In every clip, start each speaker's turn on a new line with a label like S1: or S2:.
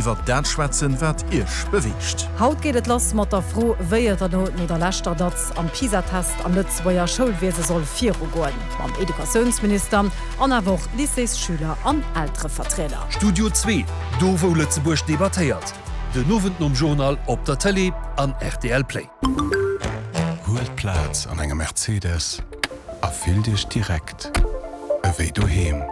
S1: Iwwer dat schwätzen, wat Iech beweegt.
S2: Haut geet et lass mat der Fro, wéi et no der leschter Datz am PISA-Test am Lëtzebuerger Schoulwiese soll virugoen. Mam Educatiounsminister an awer och Lycéesschüler an Elterevertrieder.
S1: Studio Zwee, do wou Lëtzebuerg debattéiert. Den Owend nom Journal op der Tëlee an rtl Play.
S3: Huelt Plaz an engem Mercedes a fillt Iech direkt ewéi doheem.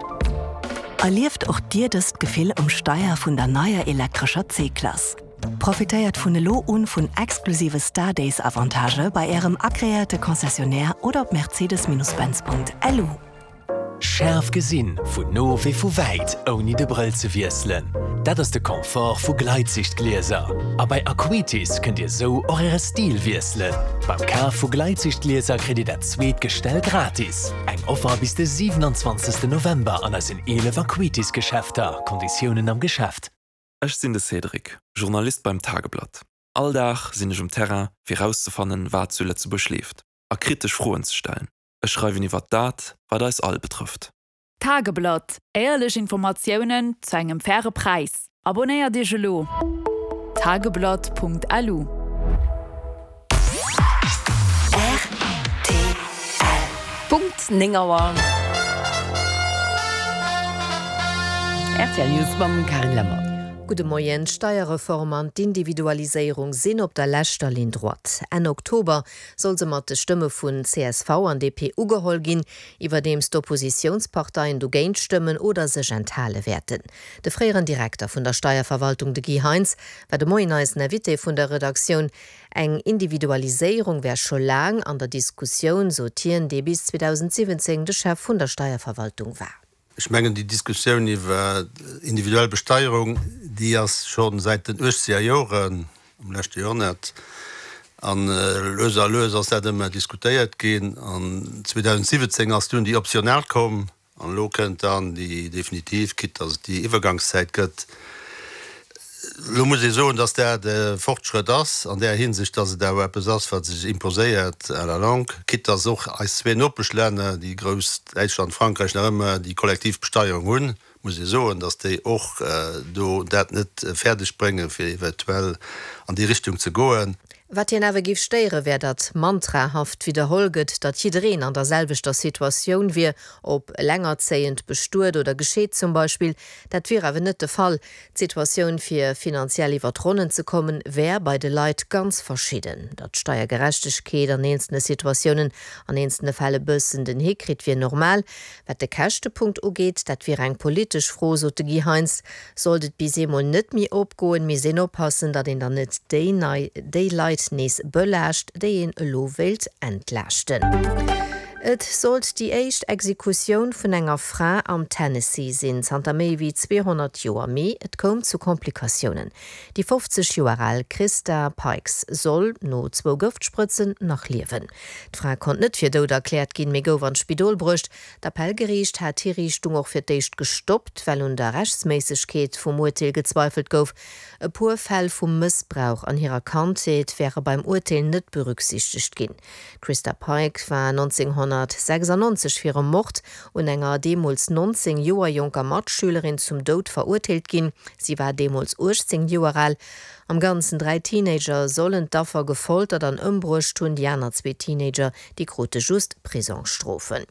S4: Erlieft och Dir dëst Gefill um Steier vun der neier elektrescher C-Klass. Profitéiert vun elo un vun exklusive Star Days Avantagë bei Ärem agreéierte Concessionnaire oder op mercedes-benz.lu.
S5: Schaarf gesinn, vun no wéi vu wäit, ouni de Brëll ze wiesselen, dat ass de Confort vu Gleitsichtglieser. A bei Acuitis kënnt Dir sou och Äre Stil wiesselen. Beim Kaf vu Gleitsichtglieser kritt Dir dat zweet Gestell gratis. Eng Offer bis de 27 November an eisen 11 Acuitis Geschäfter, Konditiounen am Geschäft.
S6: Ech sinn de Cédric, Journalist beim Tageblatt. All Dag sinn ech um Terrain, fir rauszefannen, wat zu Lëtzebuerg leeft a kritesch Froen ze stellen. Ech schreiwen iwwer dat, wat eis all betrëfft.
S7: Tageblatt, Éierlech Informatiounen zu engem faire Präis. Abonnéiert Iech elo! Tageblatt.lu.
S8: Rtl. Punkt 9 Auer. Rtl News mam Carine Lemmer.
S9: Gudde Moien. D'Steierreform an d'Individualiséierung sinn op der leschter Ligne droite. Enn Oktober soll se mat de Stëmme vun csv an DP ugeholl ginn, iwwerdeems d'Oppositiounsparteien dogéint stëmmen oder sech enthale wäerten. De fréieren Direkter vun der Steierverwaltung, de Guy Heintz, war de Moien eisen Invité vun der Redaktioun. Eng Individualiséierung wär scho laang an der Diskussioun, sot hien, dee bis 2017 de Chef vun der Steierverwaltung war.
S10: Ech mengen, déi Diskussioun iwwer individuell Besteierung, déi ass scho säit den uechzeger Joren am leschte Joerhonnert. A lues a lues ass dat ëmmer diskutéiert ginn. An 2017 ass dunn déi optional komm. An elo kënnt dann déi definitiv, quitte dass et déi Iwwergangszäit gëtt. Elo muss ee soen, dass dat e Fortschrëtt ass an där Hinsicht, dass et awer eppes ass, wat sech imposéiert à la longue, quitte dass och eis zwee Nopeschlänner, déi grouss Däitschland, Frankräich, nach ëmmer déi kollektiv Besteierung hunn, muss ee soen, dass déi och do dat net fäerdeg bréngen, fir eventuell an déi Richtung ze goen.
S9: Wat hien awer géif stéiere wär, datt mantrahaft widderholl gëtt, datt jiddereen an der selwechter Situatioun wier, ob elengerzéiend, bestuet oder gescheet zum Beispill. Dat wier awer net de Fall. D'Situatioun fir finanziell iwwer d'Ronnen ze kommen, wär bei de Leit ganz verschidden. Datt d'Steiergerechtegkeet an eenzelne Situatiounen, an eenzelne Fäll e bëssen den Hick kritt, wier normal. Wat de Käschtepunkt ugeet, dat wier eng politesch Fro, sot de Guy Heintz. Sollt et bis eemol net méi opgoen, misst een oppassen, datt een dann net déi nei déi Leit nees belaascht, déi een elo wéilt entlaaschten. Et sollt déi éischt Exekutioun vun enger Fra am Tennessee sinn, zanter méi wéi 200 Joer. Mee et koum zu Komplikatiounen. Déi 50 Joer al Christa Pike soll, no zwou Gëftsprëtzen, nach liewen. D'Fra konnt net fir dout erkläert ginn, mee gouf an d'Spidol bruecht. D'Appellgeriicht hat d'Hiriichtung och fir d'éischt gestoppt, well un der Rechtsméissegkeet vum Urteel gezweifelt gouf. E puer Fäll vu Mëssbrauch an hirer Kandheet wäre beim Urteel net berücksichtegt ginn. D'Christa Pike war 1996 fir e Mord un enger deemools 19 Joer jonker Matschülerin zum Doud verurteelt ginn. Si war deemools 18 Joer al. Am Ganzen 3 Teenager sollen d'Affer gefoltert an ëmbruecht hunn. Déi aner zwee Teenager, déi krute just Prisongsstrofen.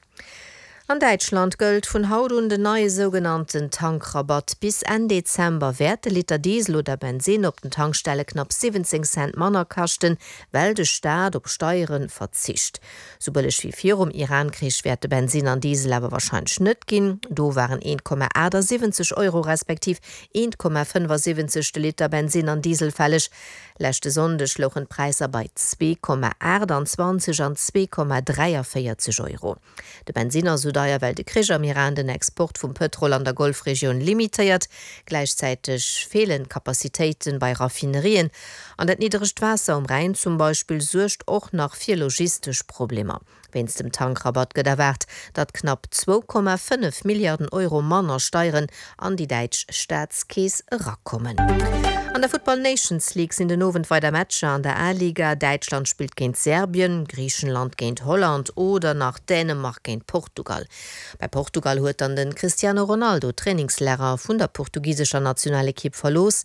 S9: An Däitschland gëllt vun haut un den neie sougenannten Tankrabatt. Bis Enn Dezember wäert de Liter Diesel oder Bensinn op den Tankstelle knapp 17 Cent manner kaschten, well de Staat op Steiere verzicht. Sou bëlleg wéi virum Iran-Krich wäert de Bensinn an Diesel awer warscheinlech net ginn. Do waren 1,78 Euro respektiv 1,75 de Liter Bensinn an Diesel fälleg. Leschte Sonndeg louchen d'Präisser bei 2,28 an 2,43 Euro. De Bensinn ass esou deier, well de Krich am Iran den Export vum Pëtrol an der Golfregioun limitéiert. Gläichzäiteg feelen d'Capacitéite bei Raffinerien an dat niddregt Waasser um Rhäin zum Beispill suergt och nach fir logistesch Problemer. Wéinst dem Tankrabatt gëtt erwaart, datt knapp 2,5 Milliarden Euro manner Steieren an déi däitsch Staatskeess erakommen. An der Futtball Nations League sinn den Owend weider Matcher an der A-Liga. Däitschland spillt géint Serbien, Griichenland géint Holland oder nach Dänemark géint Portugal. Bei Portugal huet dann de Cristiano Ronaldo d'Trainingslager vun der portugisescher Nationalekipp verlooss.